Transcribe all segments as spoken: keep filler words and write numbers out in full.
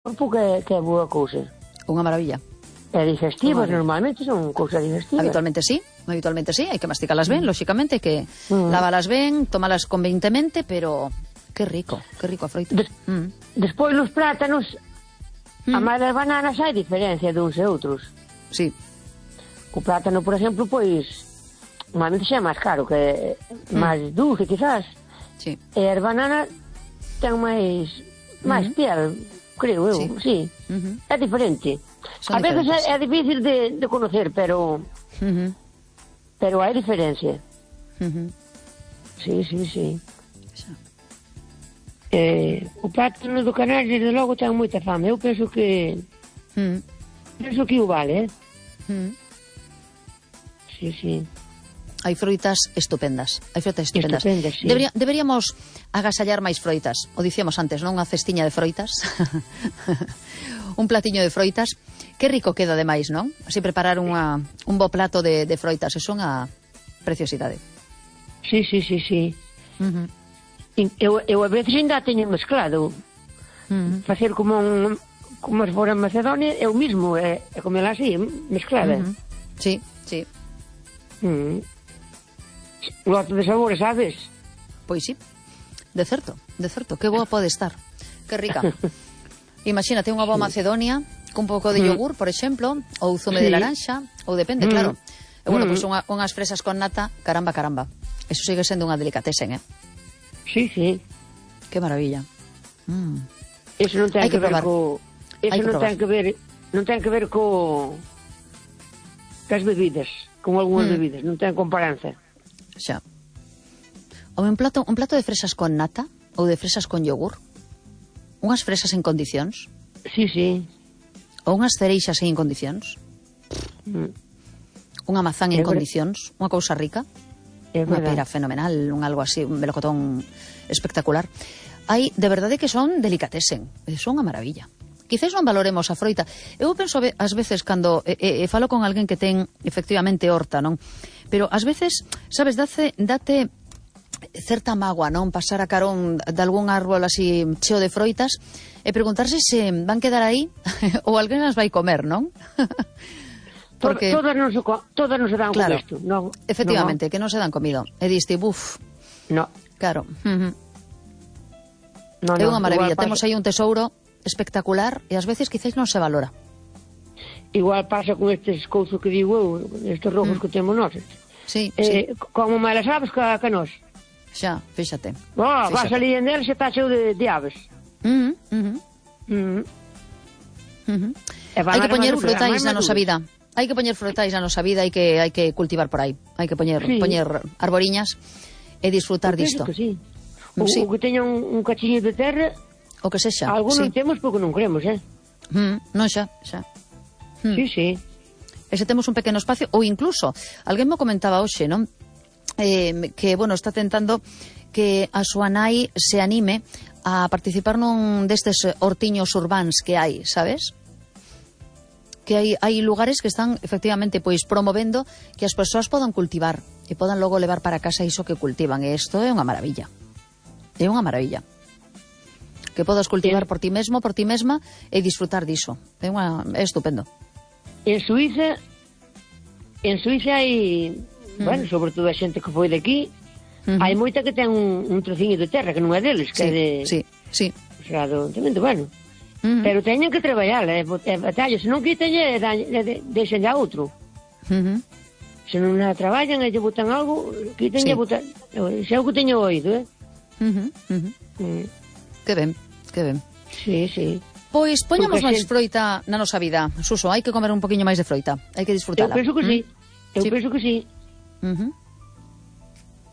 corpo que, que é boa cousa. Unha maravilla. E digestivas, normalmente son cousas digestivas. Habitualmente sí, habitualmente sí, hai que masticalas ben, mm. lóxicamente, hai que mm. lávalas ben, tomalas convenientemente, pero que rico, que rico a froitas. Des, mm. Despois nos plátanos, mm. a máis das bananas hai diferencia de uns e outros. Sí. O plátano, por exemplo, pois, normalmente xa é máis caro, que é mm. máis dulce, quizás. Sí. E as bananas ten máis, máis mm. piel, creo eu, sí. sí. Uh-huh. É diferente. Son a veces é, é difícil de, de conocer, pero uh-huh. pero hai diferencia. Uh-huh. Sí, sí, sí. So. Eh, o plátano do Canario, desde logo, ten moita fame. Eu penso que uh-huh. penso que o vale, eh? Uh-huh. Sí, sí. Hai froitas estupendas. Hai froitas estupendas. Estupendas, sí. Debería, deberíamos agasallar máis froitas. O dicíamos antes, non? Unha cestiña de froitas. Un platiño de froitas. Que rico queda ademais, non? Así preparar unha, un bo plato de, de froitas. É unha preciosidade. Sí, sí, sí, sí. Uh-huh. Eu, eu a veces ainda teño mezclado. Uh-huh. Facer como un, como se fora en Macedonia, eu mismo, é, é comela así, mezclada. Uh-huh. Sí, sí. Uh-huh. Lote de sabores, sabes? Pois sí, de certo, de certo, que boa pode estar, que rica. Imagínate unha boa Macedonia cun pouco de yogur, por exemplo, ou zume sí. de laranxa, ou depende, mm. claro. E bueno, mm. pois unha, unhas fresas con nata, caramba, caramba. Eso sigue sendo unha delicatesen, eh? Sí, sí. Que maravilla. Mm. Eso non ten que, que ver co... Eso non ten que ver, non ten que ver co... cas bebidas, con algunhas mm. bebidas, non ten comparanza. Xa. Ou un plato, un plato de fresas con nata ou de fresas con yogur. Unhas fresas en condicións. Sí, sí. Ou unhas cereixas en condicións. Mm. Unha mazán en condicións, unha cousa rica. É unha pera fenomenal, un algo así, un melocotón espectacular. Hai, de verdade que son delicatesen, son unha maravilla. Quizás non valoremos a froita. Eu penso ás veces cando e, e, falo con alguén que ten efectivamente horta, non? Pero ás veces, sabes, date, date certa mágoa, non? Pasar a carón de algún árbol así cheo de froitas e preguntarse se van quedar aí ou alguén as vai comer, non? Porque todas non se, todas non se dan claro, con isto, non? Efectivamente, no. que non se dan comido. E diste, buf. No. Claro. Uh-huh. No, é unha no, maravilla. Temos aí un tesouro espectacular e ás veces quizás non se valora. Igual pasa con estes cousas que digo eu, estes rojos mm. que temos nós. Sí, eh, sí. Como máis aves que, que nós. Xa, fíxate. Oh, vas ali en el, se está cheo de, de aves. Uh-huh, uh-huh. Uh-huh. Uh-huh. Hai que poñer frutais na nosa vida. Hai que poñer frutais na nosa vida, hai que hai que cultivar por aí. Hai que poñer sí. poñer arboriñas e disfrutar disto. Que sí. O, sí. o que teña un, un cachiño de terra. O que sexa. Algo sí. non temos porque non cremos, eh? Mm, non xa, xa. Mm. Sí, sí. E se temos un pequeno espacio, ou incluso, alguén me comentaba hoxe, non? Eh, que, bueno, está tentando que a súa nai se anime a participar nun destes hortiños urbáns que hai, sabes? Que hai, hai lugares que están, efectivamente, pois promovendo que as persoas podan cultivar e podan logo levar para casa iso que cultivan. E isto é unha maravilla. É unha maravilla. Que podas cultivar por ti mesmo, por ti mesma e disfrutar diso. É, unha, é estupendo. En Suiza en Suiza hai mm. bueno, sobre todo a xente que foi de aquí mm-hmm. hai moita que ten un, un trociño de terra que non é deles, que sí, é de sí, sí. O sea, do, bueno mm-hmm. pero teñen que traballar é, é batalla, se non quiten e deixen a outro mm-hmm. se non a traballan e lle botan algo quiten sí. e botan xa é o que teño oído, eh mm-hmm. Mm-hmm. Mm. Que ben, que ben. Sí, sí. Pois poñamos máis froita na nosa vida, Suso, hai que comer un poquinho máis de froita, hai que disfrutala. Eu penso que ¿Mm? sí, eu sí. penso que sí. Uh-huh.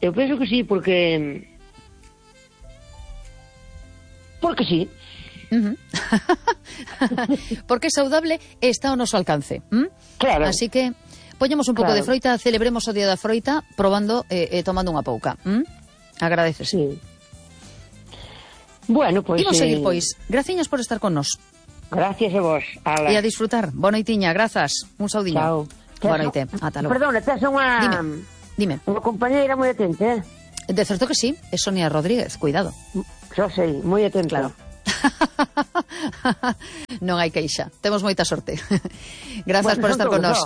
Eu penso que sí, porque... Porque sí. Uh-huh. Porque é saudable e está ao noso alcance. ¿Mm? Claro. Así que poñamos un pouco claro. de froita, celebremos o Día da Froita probando e eh, eh, tomando unha pouca. ¿Mm? Agradeces. Sí. Bueno, pois... Imos eh... seguir, pois. Graciñas por estar con nos. Gracias a vos. Ala. E a disfrutar. Boa noitiña, grazas. Un saudiño. Chao. Boa noite. Ata logo. Perdona, tes unha... Dime. Dime. Unha compañeira moi atenta, eh? De certo que sí. É Sonia Rodríguez. Cuidado. Xa sei, moi atenta. Claro. Non hai queixa, temos moita sorte. Grazas bueno, por estar con nós.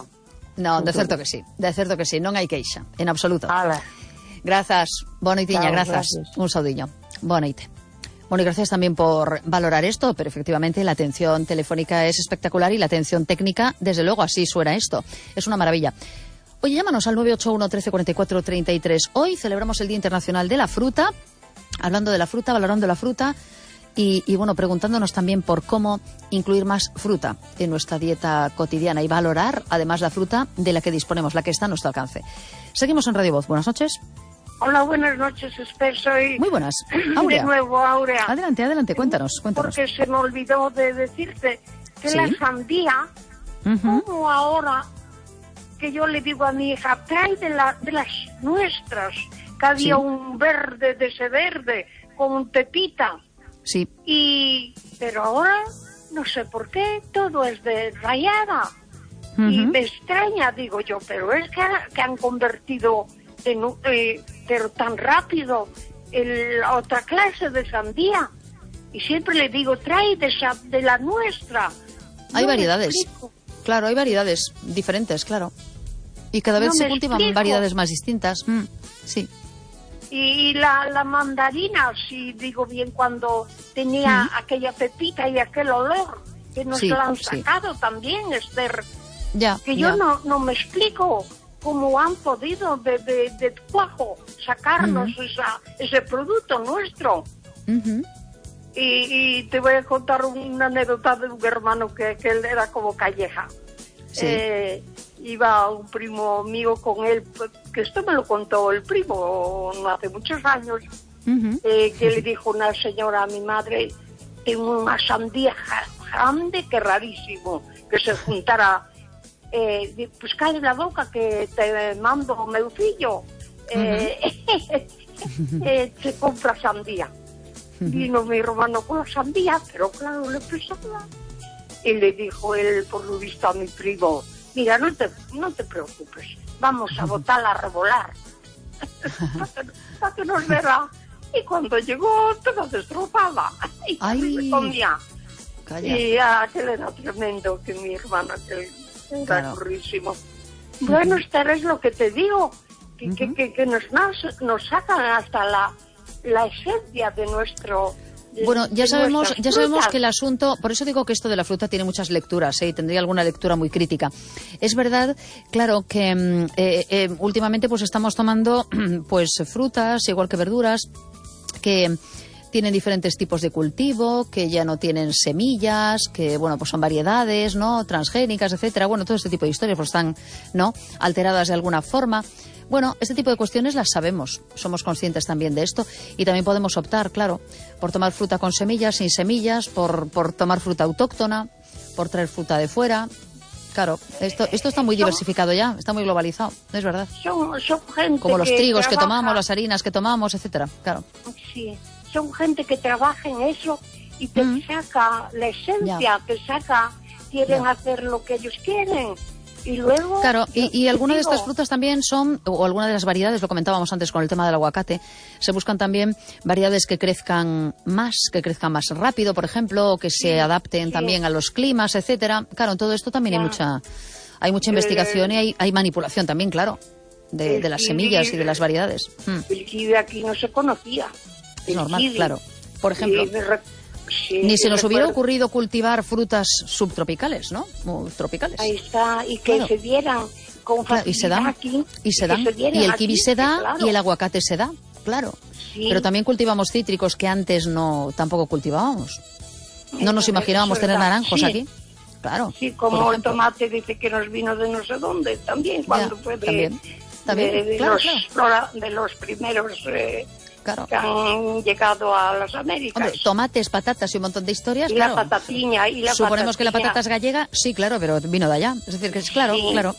Non, de todo. certo que sí, de certo que sí, non hai queixa, en absoluto. Ala. Grazas, boa noitiña, grazas. Gracias. Un saudiño, boa noite. Bueno, y gracias también por valorar esto, pero efectivamente la atención telefónica es espectacular y la atención técnica, desde luego, así suena esto. Es una maravilla. Oye, llámanos al nueve ocho uno, trece, cuarenta y cuatro, treinta y tres. Hoy celebramos el Día Internacional de la Fruta, hablando de la fruta, valorando la fruta y, y bueno, preguntándonos también por cómo incluir más fruta en nuestra dieta cotidiana y valorar, además, la fruta de la que disponemos, la que está a nuestro alcance. Seguimos en Radio Voz. Buenas noches. Hola, buenas noches, Esper, soy... Muy buenas. Aurea. De nuevo, Aurea. Adelante, adelante, cuéntanos, cuéntanos. Porque se me olvidó de decirte que ¿Sí? la sandía, Uh-huh. como ahora que yo le digo a mi hija, trae de, la, de las nuestras, que había Sí. un verde de ese verde, con pepita. Sí. Y, pero ahora, no sé por qué, todo es de rayada. Uh-huh. Y me extraña, digo yo, pero es que, que han convertido... En, eh, pero tan rápido el, la otra clase de sandía, y siempre le digo, trae de, esa, de la nuestra. Hay No me variedades, explico. claro, hay variedades diferentes, claro, y cada vez No se me cultivan explico. variedades más distintas. Mm, sí. Y la, la mandarina, si digo bien, cuando tenía Mm. aquella pepita y aquel olor, que nos Sí, lo han sí. sacado también, Esther, Ya, que ya. yo no, no me explico cómo han podido de, de, de cuajo sacarnos Ujú. esa, ese producto nuestro. Ujú. Y, y te voy a contar una anécdota de un hermano que, que él era como Calleja. Sí. Eh, iba un primo mío con él, que esto me lo contó el primo no hace muchos años, Ujú. eh, que le dijo una señora a mi madre, tengo una sandía ja- grande que rarísimo, que se juntara, eh, di- pues cae la boca que te mando meucillo, eh, eh, se compra sandía. Vino mi hermano con la sandía, pero claro, le pesaba. Y le dijo él, por lo visto, a mi primo, mira, no te, no te preocupes, vamos a botarla a revolar. Para que nos verá. Y cuando llegó, toda destrozada. Y Ay. se comía. Calla. Y aquel era tremendo, que mi hermano, aquel era Claro. currísimo. Bueno, Esther, es lo que te digo, que, Ujú. que, que, que nos, nos, nos sacan hasta la, la esencia de nuestro... de- Bueno, ya de sabemos, nuestras ya sabemos frutas. que el asunto, por eso digo que esto de la fruta tiene muchas lecturas, ¿eh? Y tendría alguna lectura muy crítica. Es verdad, claro, que mm, eh, eh, últimamente pues estamos tomando pues frutas, igual que verduras, que tienen diferentes tipos de cultivo, que ya no tienen semillas, que bueno, pues son variedades, ¿no? Transgénicas, etcétera. Bueno, todo este tipo de historias pues están, ¿no? alteradas de alguna forma. Bueno, este tipo de cuestiones las sabemos, somos conscientes también de esto y también podemos optar, claro, por tomar fruta con semillas, sin semillas, por, por tomar fruta autóctona, por traer fruta de fuera. Claro, esto, esto está muy diversificado ya, está muy globalizado, es verdad. Son, son gente Como los que trigos que trabaja- tomamos, las harinas que tomamos, etcétera. Claro. Sí, son gente que trabaja en eso y te Mm. saca la esencia, Ya. te saca, quieren Ya. hacer lo que ellos quieren. Y luego... Claro, y, y te algunas de digo, estas frutas también son, o algunas de las variedades, lo comentábamos antes con el tema del aguacate, se buscan también variedades que crezcan más, que crezcan más rápido, por ejemplo, o que se adapten sí. también a los climas, etcétera. Claro, en todo esto también hay Ya. mucha, hay mucha investigación y hay, hay manipulación también, claro, de, el de las kiwi- semillas y de las variedades. Mm, El kiwi aquí no se conocía. es El normal, kiwi. claro. Por ejemplo, Y me re- sí, ni se y nos hubiera recuerdo- ocurrido cultivar frutas subtropicales, ¿no? O tropicales. Ahí está, y que Claro. se dieran con Claro, y se facilidad dan, aquí. y se que dan, dieran y el aquí, kiwi se da, claro. y el aguacate se da, claro. Sí. Pero también cultivamos cítricos que antes no tampoco cultivábamos. No nos Eso imaginábamos es tener verdad, naranjos sí. aquí. Claro. Sí, por como el ejemplo. tomate dice que nos vino de no sé dónde, también, cuando Ya, fue de, también, también, de- de claro, los, claro. flora- de los primeros eh, Claro. que han llegado a las Américas. Hombre, tomates, patatas y un montón de historias, y claro. la patatiña, y la Suponemos que la patatiña, patata es gallega, sí, claro, pero vino de allá. Es decir, que es claro, Sí. claro.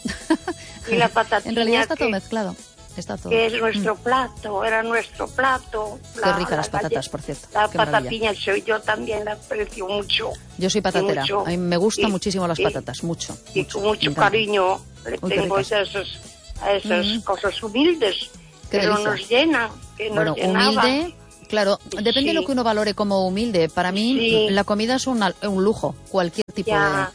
Y la patatiña En realidad está todo que- mezclado. Está todo. que es nuestro plato, era nuestro plato. Qué ricas las patatas, galle- por cierto, La qué maravilla. patatiña, soy yo también la aprecio mucho. Yo soy patatera. mucho. A mí me gustan Y- muchísimo las y- patatas, mucho. Y mucho, con me mucho encantan. cariño le Uy, qué tengo a ricas. esas, a esas Mm. cosas humildes, Qué pero delicia. nos llenan, que nos Bueno, llenaba. humilde, Claro, depende sí. de lo que uno valore como humilde. Para mí, sí. la comida es una, un lujo, cualquier tipo ya,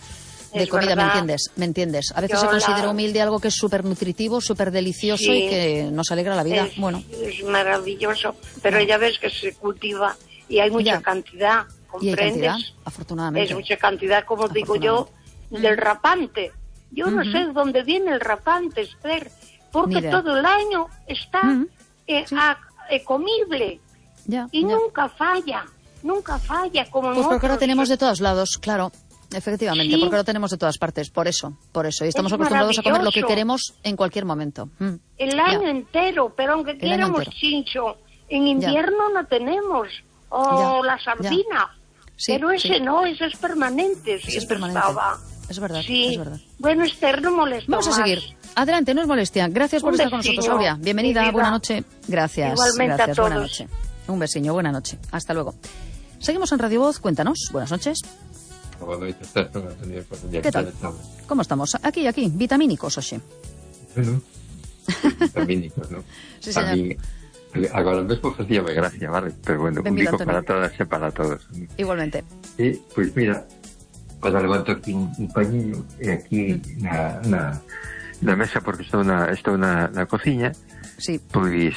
de, de comida, ¿me entiendes? ¿Me entiendes? A veces Yo se considera la... humilde algo que es súper nutritivo, súper delicioso sí. y que nos alegra la vida. Es, bueno. es maravilloso, pero ya ves que se cultiva y hay mucha ya. cantidad, ¿comprendes? Y hay cantidad, afortunadamente. Es mucha cantidad, como digo yo, del rapante. Yo uh-huh. no sé dónde viene el rapante, Esther, porque todo el año está uh-huh. eh, sí. a, eh, comible. Ya, y ya. nunca falla, nunca falla como Pues porque otros. lo tenemos de todos lados, claro, efectivamente, sí. porque lo tenemos de todas partes, por eso, por eso. Y estamos es acostumbrados a comer lo que queremos en cualquier momento. Mm. El año ya. entero, pero aunque El quieramos chincho, en invierno ya. no tenemos, o ya. la sardina, sí, pero ese sí. no, ese es permanente. Ese es permanente. Estaba. Es verdad, sí. es verdad. Bueno, Esther, no molesta Vamos más. a seguir. Adelante, no es molestia. Gracias por Un estar vecino. con nosotros, Aurea. Bienvenida, buena noche. Gracias. Igualmente gracias, a todos. buena noche. Un besiño, buena noche. Hasta luego. Seguimos en Radio Voz, cuéntanos. Buenas noches. ¿Qué tal? ¿Cómo estamos? Aquí, aquí, vitamínicos, oxe. Bueno, vitamínicos, ¿no? Sí, señor. A mí, agora mesmo facíame gracia, vale? Pero bueno, un bico para todas e para todos. Igualmente. E, pois mira, para levanto aquí un, un pañinho e aquí mm. na, na, na mesa, porque estou na, estou na, na cociña, sí. pois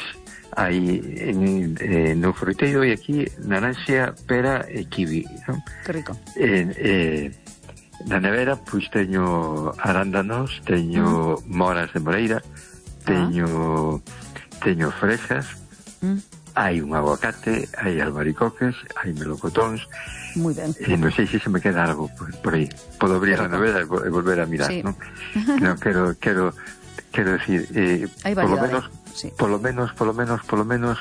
hai en, eh, no fruteiro e aquí naranxa, pera e kiwi, non? Que rico. Eh, eh, na nevera pois teño arándanos, teño mm. moras de moreira, teño ah. teño fresas, mm. hai un aguacate, hai albaricoques, hai melocotóns. Moi ben. E non sei se se me queda algo por, por aí. Podo abrir a nevera e volver a mirar, sí. non? Non, quero quero quero decir, eh, por lo menos Sí. Por lo menos, por lo menos, por lo menos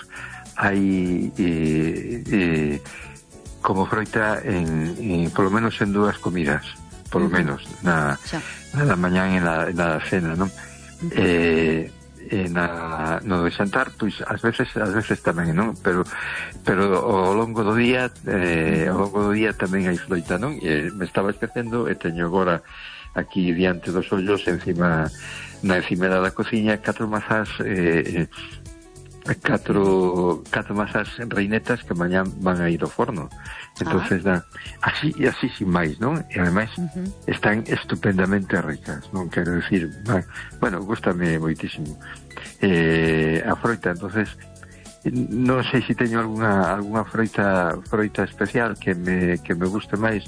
hai eh, eh, como froita en, en por lo menos en dúas comidas, por lo uh-huh. menos na, na da mañán e na, na cena, non? Uh-huh. Eh, e na, no de xantar, pois ás veces ás veces tamén, non? Pero pero ao longo do día eh, ao longo do día tamén hai froita, non? E me estaba esquecendo e teño agora aquí diante dos ollos encima na encimera da cociña catro mazás eh, catro catro mazás reinetas que mañán van a ir ao forno. Entonces ah. da, así e así sin máis, non? E ademais uh-huh. están estupendamente ricas, non quero decir, bueno, gústame moitísimo eh, a froita. Entonces non sei se teño algunha algunha froita froita especial que me que me guste máis.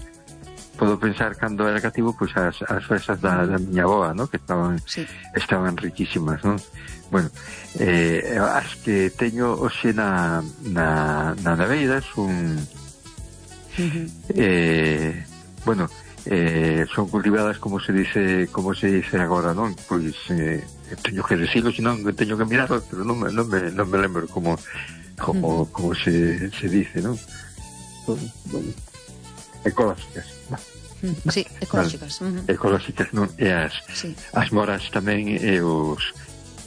Podo pensar cando era cativo, pois as, as fresas da, da miña boa, ¿no? Que estaban sí. estaban riquísimas, ¿no? Bueno, eh, as que teño hoxe na na, na neveira son uh-huh. eh, bueno, eh, son cultivadas como se dice como se dice agora, non? Pois eh, teño que decirlo, senón teño que mirarlo, pero non me, non me, non me lembro como como, uh-huh. como se, se dice, non? Bueno, ecológicas, non? Sí, ecolóxicas. Uh-huh. Ecolóxicas, non? E as, sí. as moras tamén e os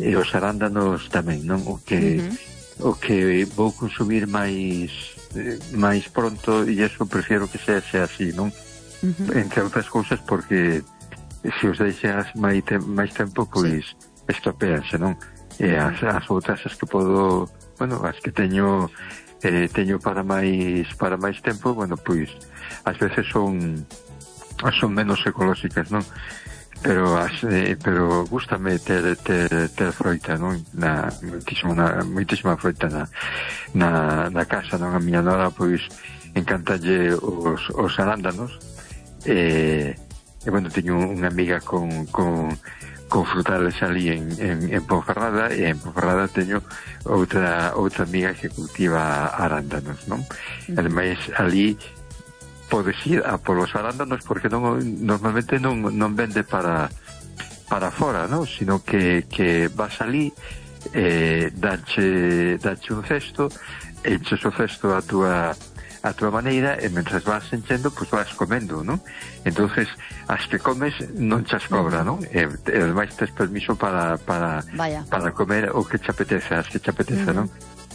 e os arándanos tamén, non? O que uh-huh. o que vou consumir máis eh, máis pronto, e eso prefiero que sea, sea así, non? Uh-huh. Entre outras cousas porque se os deixas máis, te, máis tempo, pois sí. estropeanse, non? E as, as outras as que podo, bueno, as que teño eh, teño para máis para máis tempo, bueno, pois ás veces son son menos ecolóxicas, non? Pero as, eh, pero gústame ter, ter, ter froita, non? Na, moitísima, na, moitísima froita na, na, na casa, non? A miña nora, pois, encantalle os, os arándanos e, e bueno, teño unha amiga con, con, con frutales ali en, en, en Ponferrada, e en Ponferrada teño outra, outra amiga que cultiva arándanos, non? Mm. Ademais, ali podes ir a polos arándanos porque non, normalmente non, non vende para para fora, non? Sino que, que vas ali eh, dache, dache un cesto, enches o cesto a túa a túa maneira e mentras vas enchendo, pois vas comendo, non? Entonces, as que comes non chas cobra, non? E, e ademais tes permiso para para, para comer o que te apetece, as que te apetece, uh-huh. non?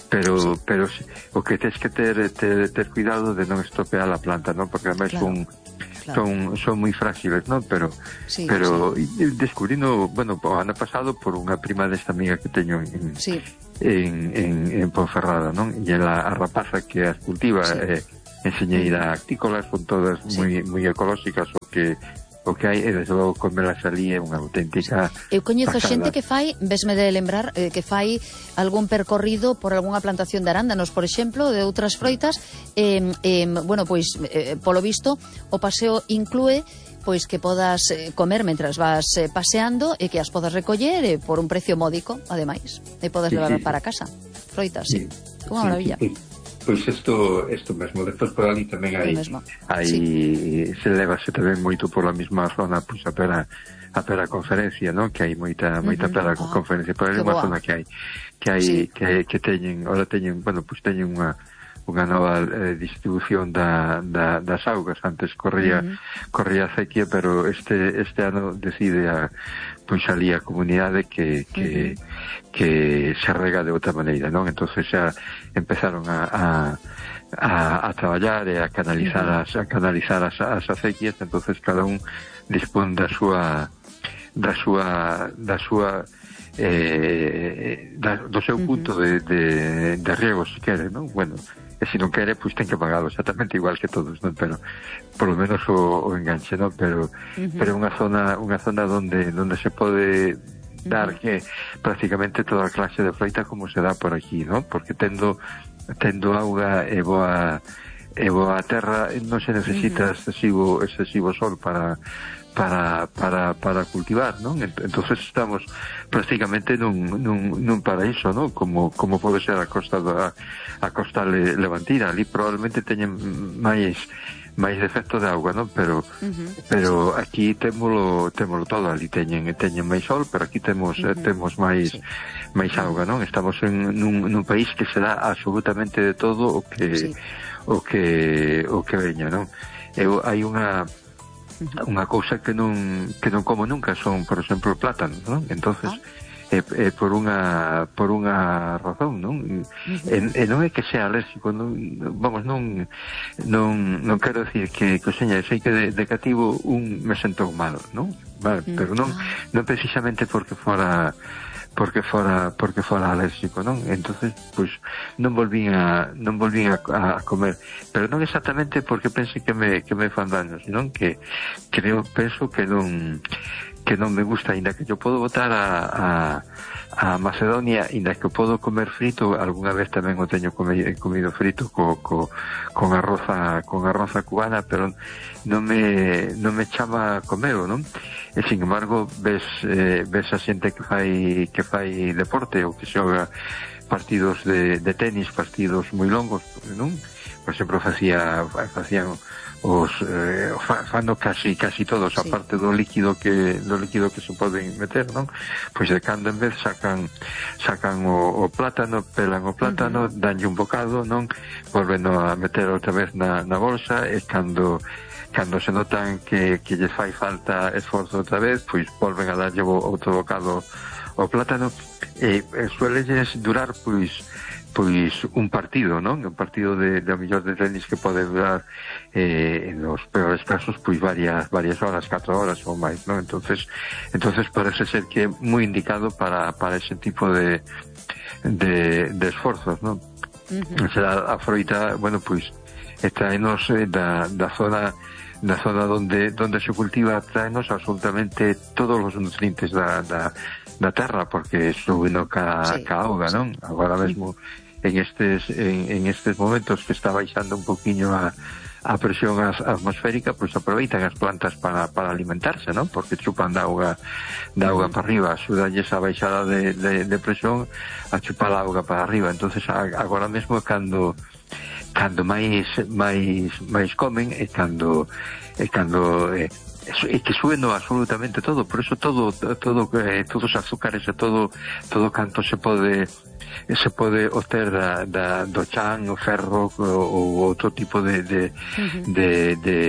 Pero, sí. pero o que tens que ter, ter, ter cuidado de non estropear a planta, non? Porque ademais claro. son, claro. son son moi frágiles, non? Pero sí, pero sí. descubrindo, bueno, o ano pasado por unha prima desta amiga que teño en, sí. en, en, en Ponferrada, non? E a, a rapaza que as cultiva sí. eh, enseñeira actícolas, son todas sí. moi moi ecolóxicas, o que o que hai, e desde logo comelas ali é unha auténtica eu coñezo pasada. Xente que fai, vesme de lembrar eh, que fai algún percorrido por algunha plantación de arándanos, por exemplo, de outras froitas, eh, eh, bueno, pois eh, polo visto o paseo inclúe pois que podas eh, comer mentras vas eh, paseando e que as podas recoller eh, por un precio módico, ademais, e podas sí, levar sí, para casa froitas, sí, sí. Unha sí, maravilla sí, sí. Pois isto, isto mesmo, despois por ali tamén hai, hai sí. se levase tamén moito por a mesma zona, pois a pera, a pera conferencia, non? Que hai moita, moita uh -huh. pera ah, conferencia, por ali unha zona que hai, que hai, sí. que, que teñen, ora teñen, bueno, pois teñen unha, unha nova eh, distribución da, da, das augas, antes corría, uh -huh. corría a sequía, pero este, este ano decide a, pois ali a comunidade que, que, uh -huh. que se rega de outra maneira, non? Entonces xa empezaron a, a, a, a traballar e a canalizar uh -huh. as, a canalizar as, as acequias, entonces cada un dispón da súa da súa da súa eh, da, do seu punto uh -huh. de, de, de riego, se quere, non? Bueno, e se non quere, pois ten que pagalo exactamente igual que todos, non? Pero por lo menos o, o enganche, non? Pero uh-huh. pero unha zona unha zona onde onde se pode dar uh-huh. que prácticamente toda a clase de froita como se dá por aquí, non? Porque tendo tendo auga e boa e boa terra non se necesita uh-huh. excesivo excesivo sol para para para para cultivar, non? Entonces estamos prácticamente nun nun nun paraíso, non? Como como pode ser a costa da a costa levantina, ali probablemente teñen máis máis defecto de auga, non? Pero uh-huh. pero aquí témolo témolo todo, ali teñen teñen máis sol, pero aquí temos uh-huh. temos máis sí. máis auga, non? Estamos en nun nun país que se dá absolutamente de todo o que sí. o que o que veña, non? Eu hai unha unha cousa que non que non como nunca son, por exemplo, plátanos, non? Entonces ah. é, é por unha por unha razón, non? Uh-huh. E, e non é que sea alérxico, non, vamos, non non non quero decir que que seña, sei que de, de cativo un me sentou malo, non? Vale, uh-huh. pero non non precisamente porque fora porque fora porque fora alérxico, non? Entonces, pois non volvín a non volvín a, a comer, pero non exactamente porque pense que me que me fan daño, senón que creo penso que non que non me gusta, ainda que yo podo botar a a a Macedonia, ainda que podo comer frito, algunha vez tamén o teño comido, comido frito co, co, con arroz a, con arroz a cubana, pero non me non me chama a comelo, non? E sin embargo ves eh, ves a xente que fai que fai deporte ou que xoga partidos de, de tenis, partidos moi longos, non? Por exemplo, facía facían os eh, fano casi casi todos, sí. aparte do líquido que do líquido que se poden meter, non? Pois de cando en vez sacan sacan o, o plátano, pelan o plátano, uh-huh. danlle un bocado, non? Volven a meter outra vez na, na bolsa, e cando cando se notan que, que lles fai falta esforzo outra vez, pois volven a darlle outro bocado ao plátano, e, e suelelles durar pois pois un partido, non? Un partido de, de a mellor de tenis que pode durar eh, en os peores casos pois varias varias horas, catro horas ou máis, non? Entonces, entonces parece ser que é moi indicado para para ese tipo de de, de esforzos, non? Uh-huh. O sea, a froita, bueno, pois traenos eh, da, da zona da zona donde donde se cultiva, traenos absolutamente todos os nutrientes da, da da terra, porque subindo ca, sí, ca auga, non? Agora mesmo en estes en, en estes momentos que está baixando un poquinho a, a presión as, atmosférica, pois pues aproveitan as plantas para, para alimentarse, non? Porque chupan da auga da auga mm. para arriba, axudanlles a baixada de, de, de presión a chupar a auga para arriba. Entonces agora mesmo cando cando máis máis máis comen e cando e cando eh, é que sueno absolutamente todo, por eso todo todo eh, todos os azúcares e todo todo canto se pode se pode obter da, da, do chan, o ferro ou outro tipo de de, uh-huh. de, de,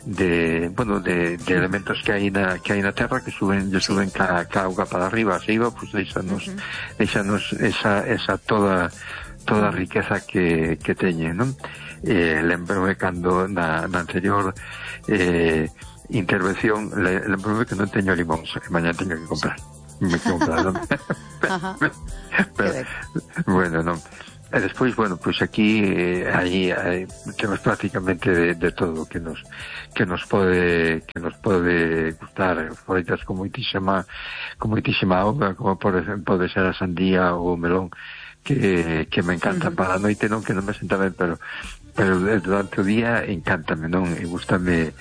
de bueno, de, de elementos que hai na que hai na terra que suben, lle suben ca, ca auga para arriba, arriba, pois pues deixanos uh-huh. deixanos esa esa toda toda a riqueza que que teñe, non? Eh, lembrome cando na, na anterior eh intervención, le, lembrome que non teño limóns, que mañá teño que comprar. Me que comprar, non? Ajá. Pero, bueno, non. E despois, bueno, pois pues aquí eh, aí, aí temos prácticamente de, de todo que nos que nos pode que nos pode gustar, froitas con moitísima con moitísima auga, como por exemplo pode ser a sandía ou o melón, que, que me encanta. Uh-huh. Para a noite non, que non me senta ben, pero pero durante o día encántame, non? E gústame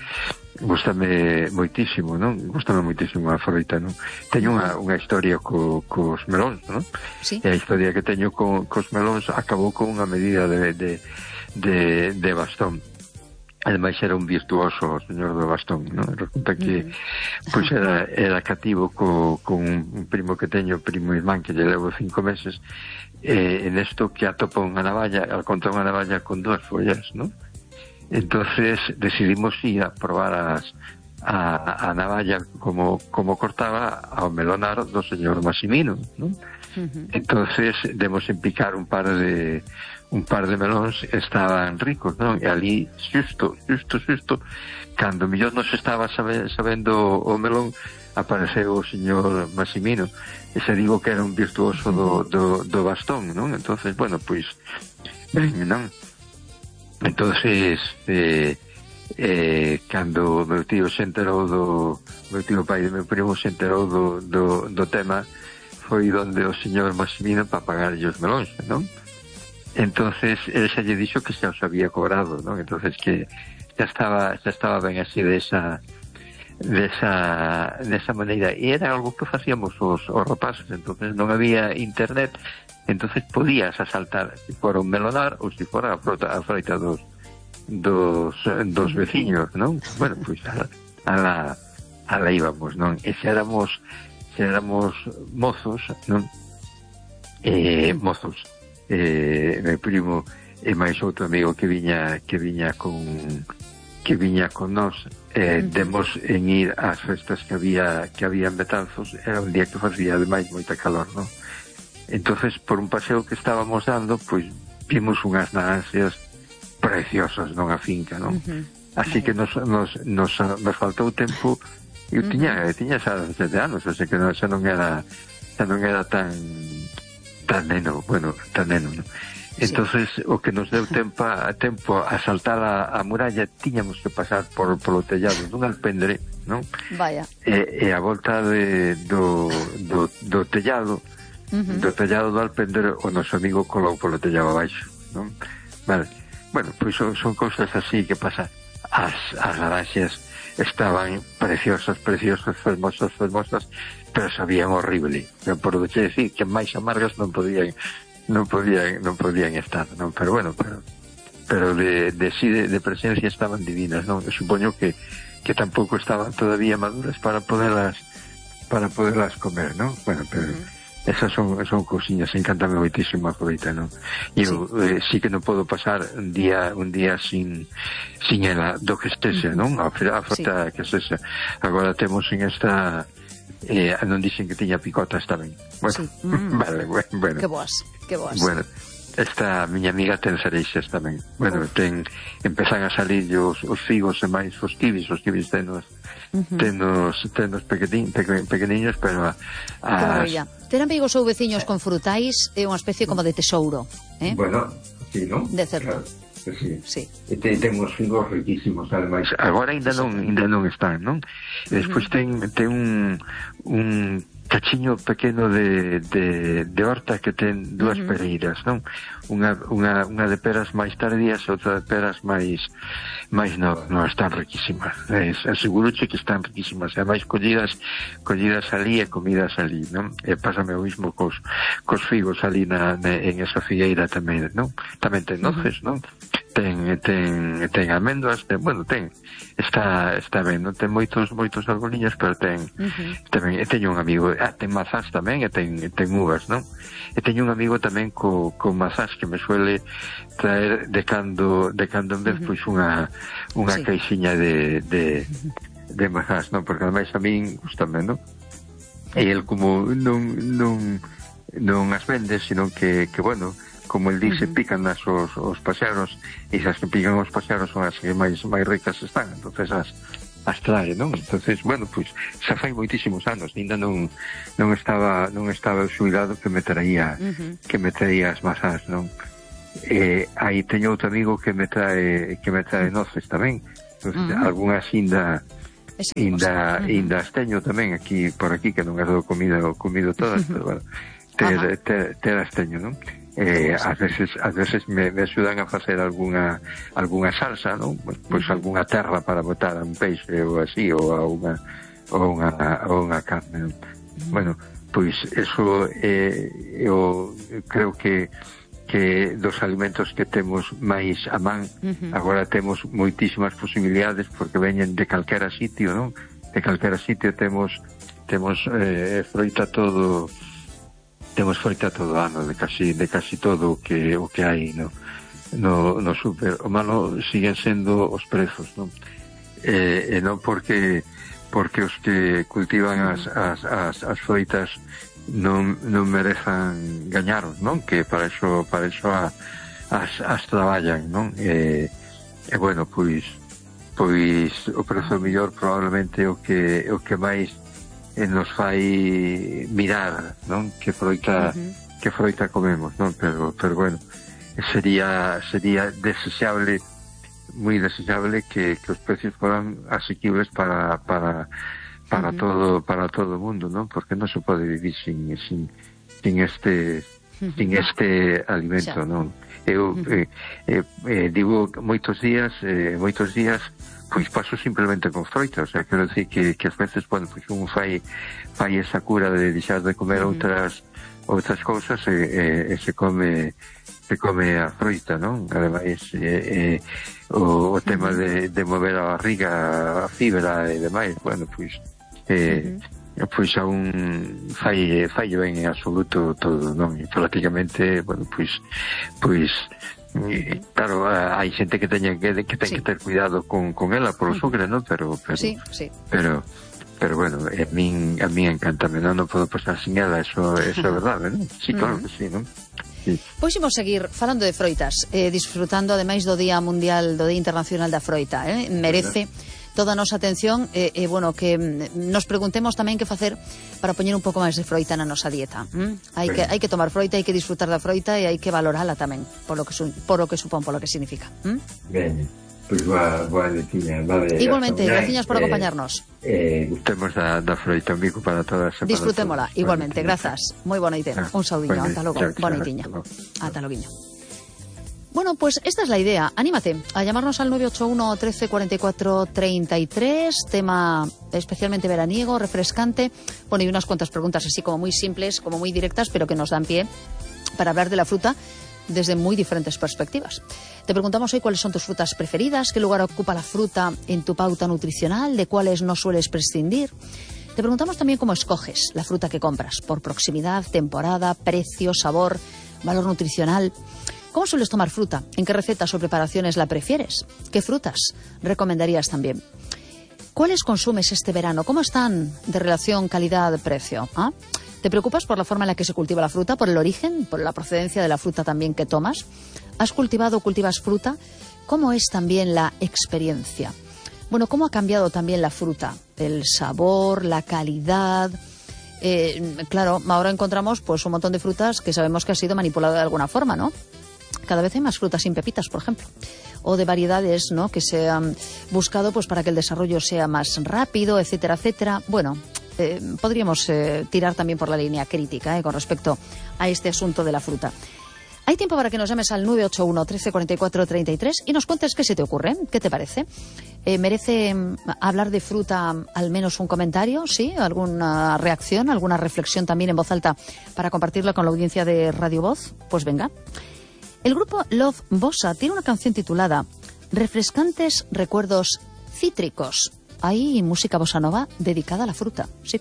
gústame moitísimo, non? Gústame moitísimo a froita, non? Teño unha, unha historia co, cos melóns, non? Sí. E a historia que teño co, cos melóns acabou con unha medida de, de, de, de bastón. Ademais era un virtuoso o señor do bastón, non? Resulta que mm. pois era, era cativo co, con un primo que teño, primo irmán, que lle levo cinco meses, e en esto que atopa unha navalla, al contra unha navalla con dúas follas, non? Entonces decidimos ir a probar as, a, a navalla como, como cortaba ao melonar do señor Massimino, ¿no? Uh-huh. Entonces demos en picar un par de un par de melóns, estaban ricos, ¿no? E ali, xusto, xusto, xusto, cando millón nos estaba sabe, sabendo o melón, apareceu o señor Massimino, e se digo que era un virtuoso do, do, do bastón, ¿no? Entonces, bueno, pois, ben, non? Entonces eh, eh, cando meu tío se enterou do meu tío pai e meu primo se enterou do, do, do tema, foi donde o señor Massimino para pagarlle os melóns, non? Entonces ele xa lle dixo que xa os había cobrado, non? Entonces que xa estaba xa estaba ben así desa desa desa maneira, e era algo que facíamos os, os rapaces. Entonces non había internet, entonces podías asaltar se fora un melonar ou se fora a frota, a froita dos dos, dos veciños, non? Bueno, pois pues, a, a la a la íbamos, non? E se éramos se éramos mozos, non? Eh, mozos eh, meu primo e máis outro amigo que viña que viña con que viña con nós, eh, demos en ir ás festas que había que había en Betanzos. Era un día que facía ademais moita calor, non? Entonces, por un paseo que estábamos dando, pois vimos unhas naranxas preciosas nunha finca, non? Uh-huh. Así que nos, nos, nos, nos faltou tempo. Eu tiña, uh-huh. tiña xa sete anos, así que non, xa non era xa non era tan tan neno, bueno, tan neno, non? Entonces, sí. O que nos deu tempo a tempo a saltar a, a muralla, tiñamos que pasar por polo tellado dun alpendre, non? Vaya. E, e a volta de, do, do, do tellado, uh-huh. do tellado do alpendre, o noso amigo colou polo tellado abaixo, non? Vale. Bueno, pois son, son cousas así que pasa. As, as naranxas estaban preciosas, preciosas, fermosas, fermosas, pero sabían horrible. Pero por decir que máis amargas non podían non podían non podían estar, non? Pero bueno, pero pero de de sí de, de presencia estaban divinas, non? Eu supoño que que tampouco estaban todavía maduras para poderlas para poderlas comer, non? Bueno, pero uh-huh. esas son son cousiñas, encántame moitísimo a froita, non? E eu sí. Eh, sí que non podo pasar un día un día sin sin ela do que estese, non? A, a frota sí. que estese. Agora temos en esta eh, non dixen que tiña picotas tamén. Bueno, sí. mm. vale, bueno. Que boas, que boas. Bueno, esta miña amiga ten cereixas tamén. Bueno, Uf. ten empezan a salir os, os figos e máis os kibis, os kibis tenos uh-huh. tenos, tenos pequenin, peque, pequeniños, pero a, as... Ter amigos ou veciños con frutais é unha especie como de tesouro, eh? Bueno, sí, non? De certo. Claro. Sí. Sí. E te, ten uns figos riquísimos, ademais. Agora ainda non ainda non están, non? E despois ten ten un un cachiño pequeno de, de, de horta que ten dúas uh-huh. pereiras, non? Unha, unha, unha de peras máis tardías e outra de peras máis máis novas, non, están riquísimas. Es, aseguroche que están riquísimas, e máis collidas collidas ali e comidas ali, non? E pásame o mismo cos, cos figos ali na, na, en esa figueira tamén, non? Tamén ten noces, uh-huh. non? ten ten ten almendras, ten, bueno, ten está está ben, non ten moitos moitos arboliños, pero ten uh-huh. tamén, e teño un amigo, ah, ten mazás tamén, e ten ten uvas, non? E teño un amigo tamén co co mazás que me suele traer de cando de cando en vez uh-huh. pois unha unha sí. caixiña de de de mazás, non? Porque ademais a min gustame, non? E el como non non non as vende, sino que que bueno, como el dice, uh-huh. pican as os, os paxaros, e as que pican os paxaros son as que máis máis ricas están. Entonces as as trae, non? Entonces, bueno, pois xa fai moitísimos anos, ainda non non estaba non estaba xubilado que me traía uh-huh. que me traía as masas, non? Eh, aí teño outro amigo que me trae que me trae noces tamén. Entonces, uh-huh. algunhas inda inda uh-huh. inda as teño tamén aquí por aquí, que non as dou comido comido todas, uh-huh. pero bueno, ter, ter, ter as teño, non? Eh, ás veces, ás veces me, me axudan a facer algunha algunha salsa, non? Pois algunha terra para botar un peixe ou así, ou a unha ou unha, ou unha carne. Bueno, pois eso eh, eu creo que que dos alimentos que temos máis a man, uh-huh. agora temos moitísimas posibilidades porque veñen de calquera sitio, non? De calquera sitio temos temos eh, froita todo temos froita todo ano, de casi de casi todo o que o que hai no no no super. O malo siguen sendo os prezos, non? Eh, e non porque porque os que cultivan as as as, as froitas non non merezan gañaron, non? Que para eso para eso a, as as traballan, non? E, e bueno, pois pois o prezo mellor probablemente o que o que máis e nos fai mirar, non? Que froita uh-huh. que froita comemos, non? Pero pero bueno, sería sería desexable, moi desexable que, que os precios fueran asequibles para para para uh-huh. todo para todo o mundo, non? Porque non se pode vivir sin sin sin este uh-huh. sin este alimento, xa. Non? Eu uh-huh. eh, eh, eh, digo moitos días, eh, moitos días pois paso simplemente con froita, o sea, quero decir que, que as veces, bueno, pois un fai fai esa cura de deixar de comer uh-huh. outras outras cousas e, e, e se come se come a froita, non? Ademais, eh, eh, o, o tema de, de mover a barriga, a fibra e demais, bueno, pois eh, uh-huh. pois a un fai, fai ben en absoluto todo, non? E prácticamente, bueno, pois pois E, claro, hai xente que teña que, que ten sí. que ter cuidado con, con ela por o sucre, non? Pero pero sí, sí. pero pero bueno, a min a min encántame, non, non podo pasar sin ela, eso eso é verdade, non? Sí, claro uh-huh. que sí, non? Sí. Pois imos seguir falando de froitas, eh, disfrutando ademais do Día Mundial, do Día Internacional da Froita, eh? Merece toda a nosa atención e, eh, eh, bueno, que nos preguntemos tamén que facer para poñer un pouco máis de froita na nosa dieta. ¿Mm? Hai que hai que tomar froita, hai que disfrutar da froita e hai que valorala tamén por lo que su, por lo que supón, por lo que significa. ¿Mm? Ben, pois pues boa, boa letiña, vale. Igualmente, graciñas por acompañarnos. Eh, eh, gustemos da, da froita, amigo, para todas. Disfrutémola, para igualmente, grazas. Moi boa noite. Ah, un saudiño, bueno, ata logo. Boa noitiña. Ata loguiño. Bueno, pues esta es la idea. Anímate a llamarnos al nueve ocho uno, trece, cuarenta y cuatro, treinta y tres. Tema especialmente veraniego, refrescante. Bueno, y unas cuantas preguntas así como muy simples, como muy directas, pero que nos dan pie para hablar de la fruta desde muy diferentes perspectivas. Te preguntamos hoy cuáles son tus frutas preferidas, qué lugar ocupa la fruta en tu pauta nutricional, de cuáles no sueles prescindir. Te preguntamos también cómo escoges la fruta que compras, por proximidad, temporada, precio, sabor, valor nutricional. ¿Cómo sueles tomar fruta? ¿En qué recetas o preparaciones la prefieres? ¿Qué frutas recomendarías también? ¿Cuáles consumes este verano? ¿Cómo están de relación calidad-precio? ¿Ah? ¿Te preocupas por la forma en la que se cultiva la fruta, por el origen, por la procedencia de la fruta también que tomas? ¿Has cultivado o cultivas fruta? ¿Cómo es también la experiencia? Bueno, ¿cómo ha cambiado también la fruta? El sabor, la calidad. Eh, claro, ahora encontramos pues un montón de frutas que sabemos que ha sido manipulado de alguna forma, ¿no? Cada vez hay más frutas sin pepitas, por ejemplo, o de variedades, ¿no?, que se han buscado pues para que el desarrollo sea más rápido, etcétera, etcétera. Bueno, eh, podríamos eh, tirar también por la línea crítica eh, con respecto a este asunto de la fruta. Hay tiempo para que nos llames al nueve ocho uno, trece, cuarenta y cuatro, treinta y tres y nos cuentes qué se te ocurre, qué te parece. Eh, ¿Merece hablar de fruta al menos un comentario? ¿Sí? ¿Alguna reacción, alguna reflexión también en voz alta para compartirla con la audiencia de Radio Voz? Pues venga. El grupo Love Bossa tiene una canción titulada Refrescantes recuerdos cítricos. Hay música bossa nova dedicada a la fruta, sí.